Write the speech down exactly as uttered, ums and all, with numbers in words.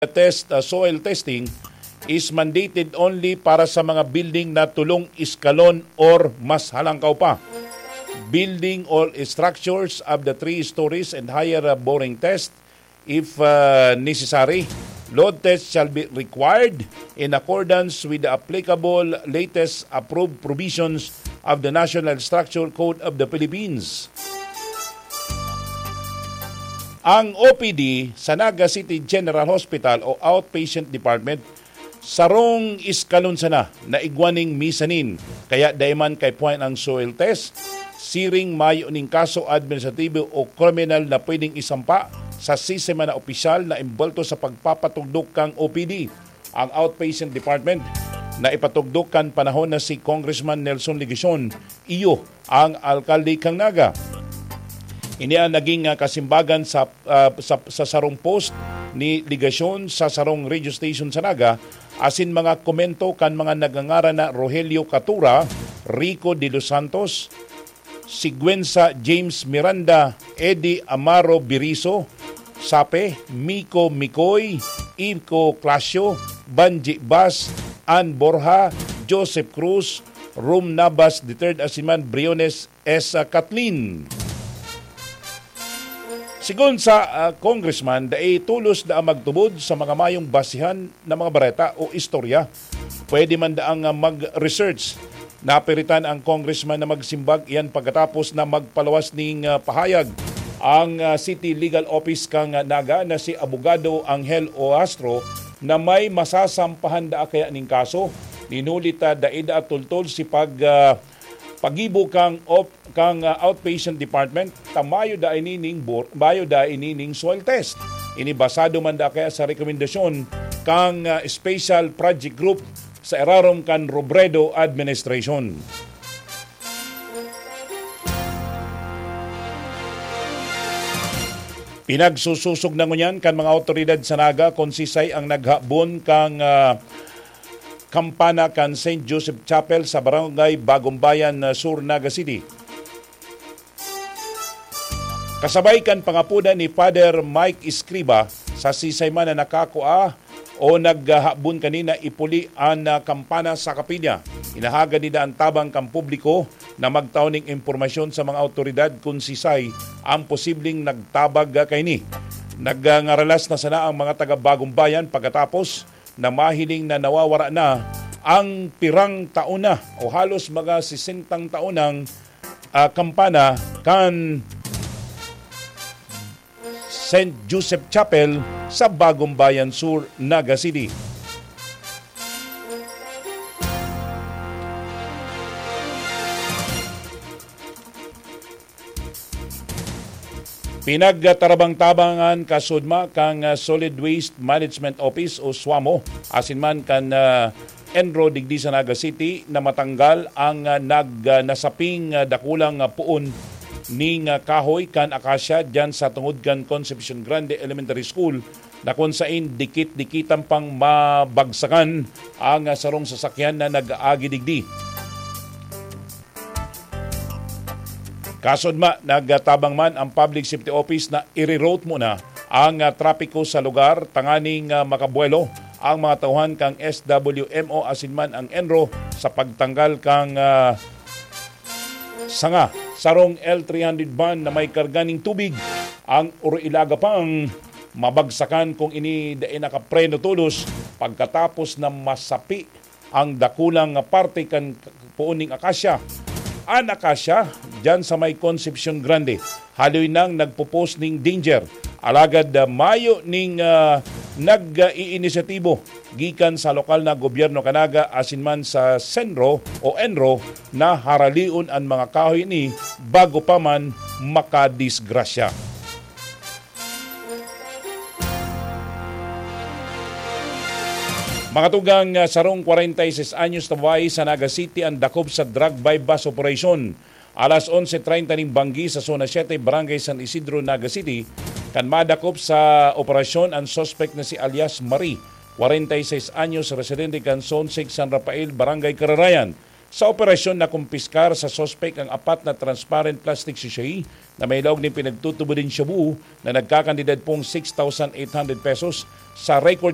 test, uh, soil testing is mandated only para sa mga building na tulong iskalon or mas halangkaw pa. Building or structures of the three stories and higher, uh, boring test, if, uh, necessary. Load test shall be required in accordance with the applicable latest approved provisions of the National Structure Code of the Philippines. Ang O P D sa Naga City General Hospital o Outpatient Department, sarong iskalon sana na igwa ning mezzanine, kaya dai man kaipuhan ang soil test, siring mayo ning kaso administratibo o kriminal na pwedeng isampa sa sisay man na opisyal na embwelto sa pagpapatugdok kan O P D. Ang Outpatient Department na ipatugdok kan panahon na si Congressman Nelson Legacion, iyo ang alkalde kan Naga. Ini ang naging, ah, kasimbagan sa, ah, sa, sa sarong post ni Legacion sa sarong radio station sa Naga, asin mga komento kan mga nagngangaran na Rogelio Catura, Rico de los Santos, Siguenza James Miranda, Eddie Amaro Biriso, Sape, Miko Mikoy, Ico Clasio, Banji Bas, Ann Borja, Joseph Cruz, Rom Nabas the third, asin man Briones S. Kathleen. Sigon sa, ah, congressman, dai tolos na magtubod sa mga mayong basihan na mga bareta o istorya. Pwede man daang, ah, mag-research. Napiritan ang congressman na magsimbag iyan pagkatapos na magpaluwas ning, ah, pahayag ang, ah, City Legal Office kan, ah, Naga na si Abogado Angel Oastro na may masasampahan daa kaya ning kaso. Ninuli ta dai daa tultol si pag, ah, pagibo kang op-, kang, ah, outpatient department, ta mayo daa ini ning bor-, mayo daa ini ning soil test. Ini basado man daa kaya sa rekomendasyon kang, ah, Special Project Group sa irarom kan Robredo Administration. Pinagsusosog na ngunyan kan mga awtoridad sa Naga kun sisay ang naghabon kang, ah, kampana kan Saint Joseph Chapel sa Barangay Bagumbayan, ah, Sur, Naga City. Kasabay kan pangapodan ni Father Mike Escriba, sa sisay man na nakakua o naghabon kanina, ipuli an, ah, kampana sa kapilya. Inahagad ninda an tabang kan publiko na magtao ning impormasyon sa mga awtoridad kun sisay ang posibleng nagtabag, ah, kaini. Nagngaralas na sana ang mga taga Bagumbayan pagkatapos na mahiling na nawawara na ang pirang taon na o halos mga sesentang taon nang, ah, kampana kan Saint Joseph Chapel sa Bagumbayan Sur, Naga City. Pinagtarabang-tabangan kasudma kan, ah, Solid Waste Management Office o SWAMO, asin man kan, ah, ENRO digdi sa Naga City na matanggal ang, ah, nag-, ah, nasaping, ah, dakulang, ah, poon ning, ah, kahoy kan akasya diyan sa tungod kan Concepcion Grande Elementary School, na kun sain dikit-dikitan pang mabagsakan ang, ah, sarong sasakyan na nag-aagi digdi. Kasudma, nagtabang man ang Public Safety Office na i-reroute muna ang, ah, trapiko sa lugar tanganing, ah, makabuwelo ang mga tauhan kan SWMO asin man ang ENRO sa pagtanggal kan, ah, sanga. Sarong L three hundred van na may karga nin tubig ang uroilaga pang mabagsakan kun ini dai nakapreno tolos pagkatapos na masapi ang dakulang parte kan poon ning akasya. An akasya, diyan sa may Concepcion Grande, haloy nang nagpo-post ning danger. Alagad, ah, mayo ning, ah, nag-iinisyatibo gikan sa lokal na gobyerno kan Naga asin man sa senro o enro na haralion an mga kahoy ini bago pa man makadisgrasya. Mga tugang, ah, sarong kwarenta y seis anyos na babae sa Naga City ang dakop sa drug buy-bust operation. Alas onse treinta ning banggi sa Zona siete, Barangay San Isidro, Naga City, kan madakop sa operasyon ang suspek na si alias Marie, kwarenta y seis anyos, residente kan Zone six San Rafael, Barangay Kararayan. Sa operasyon, nakumpiskar sa suspek ang apat na transparent plastic sachet na may laog nin pinagtutubod nin shabu na nagkakantidad pong six thousand eight hundred pesos. Sa record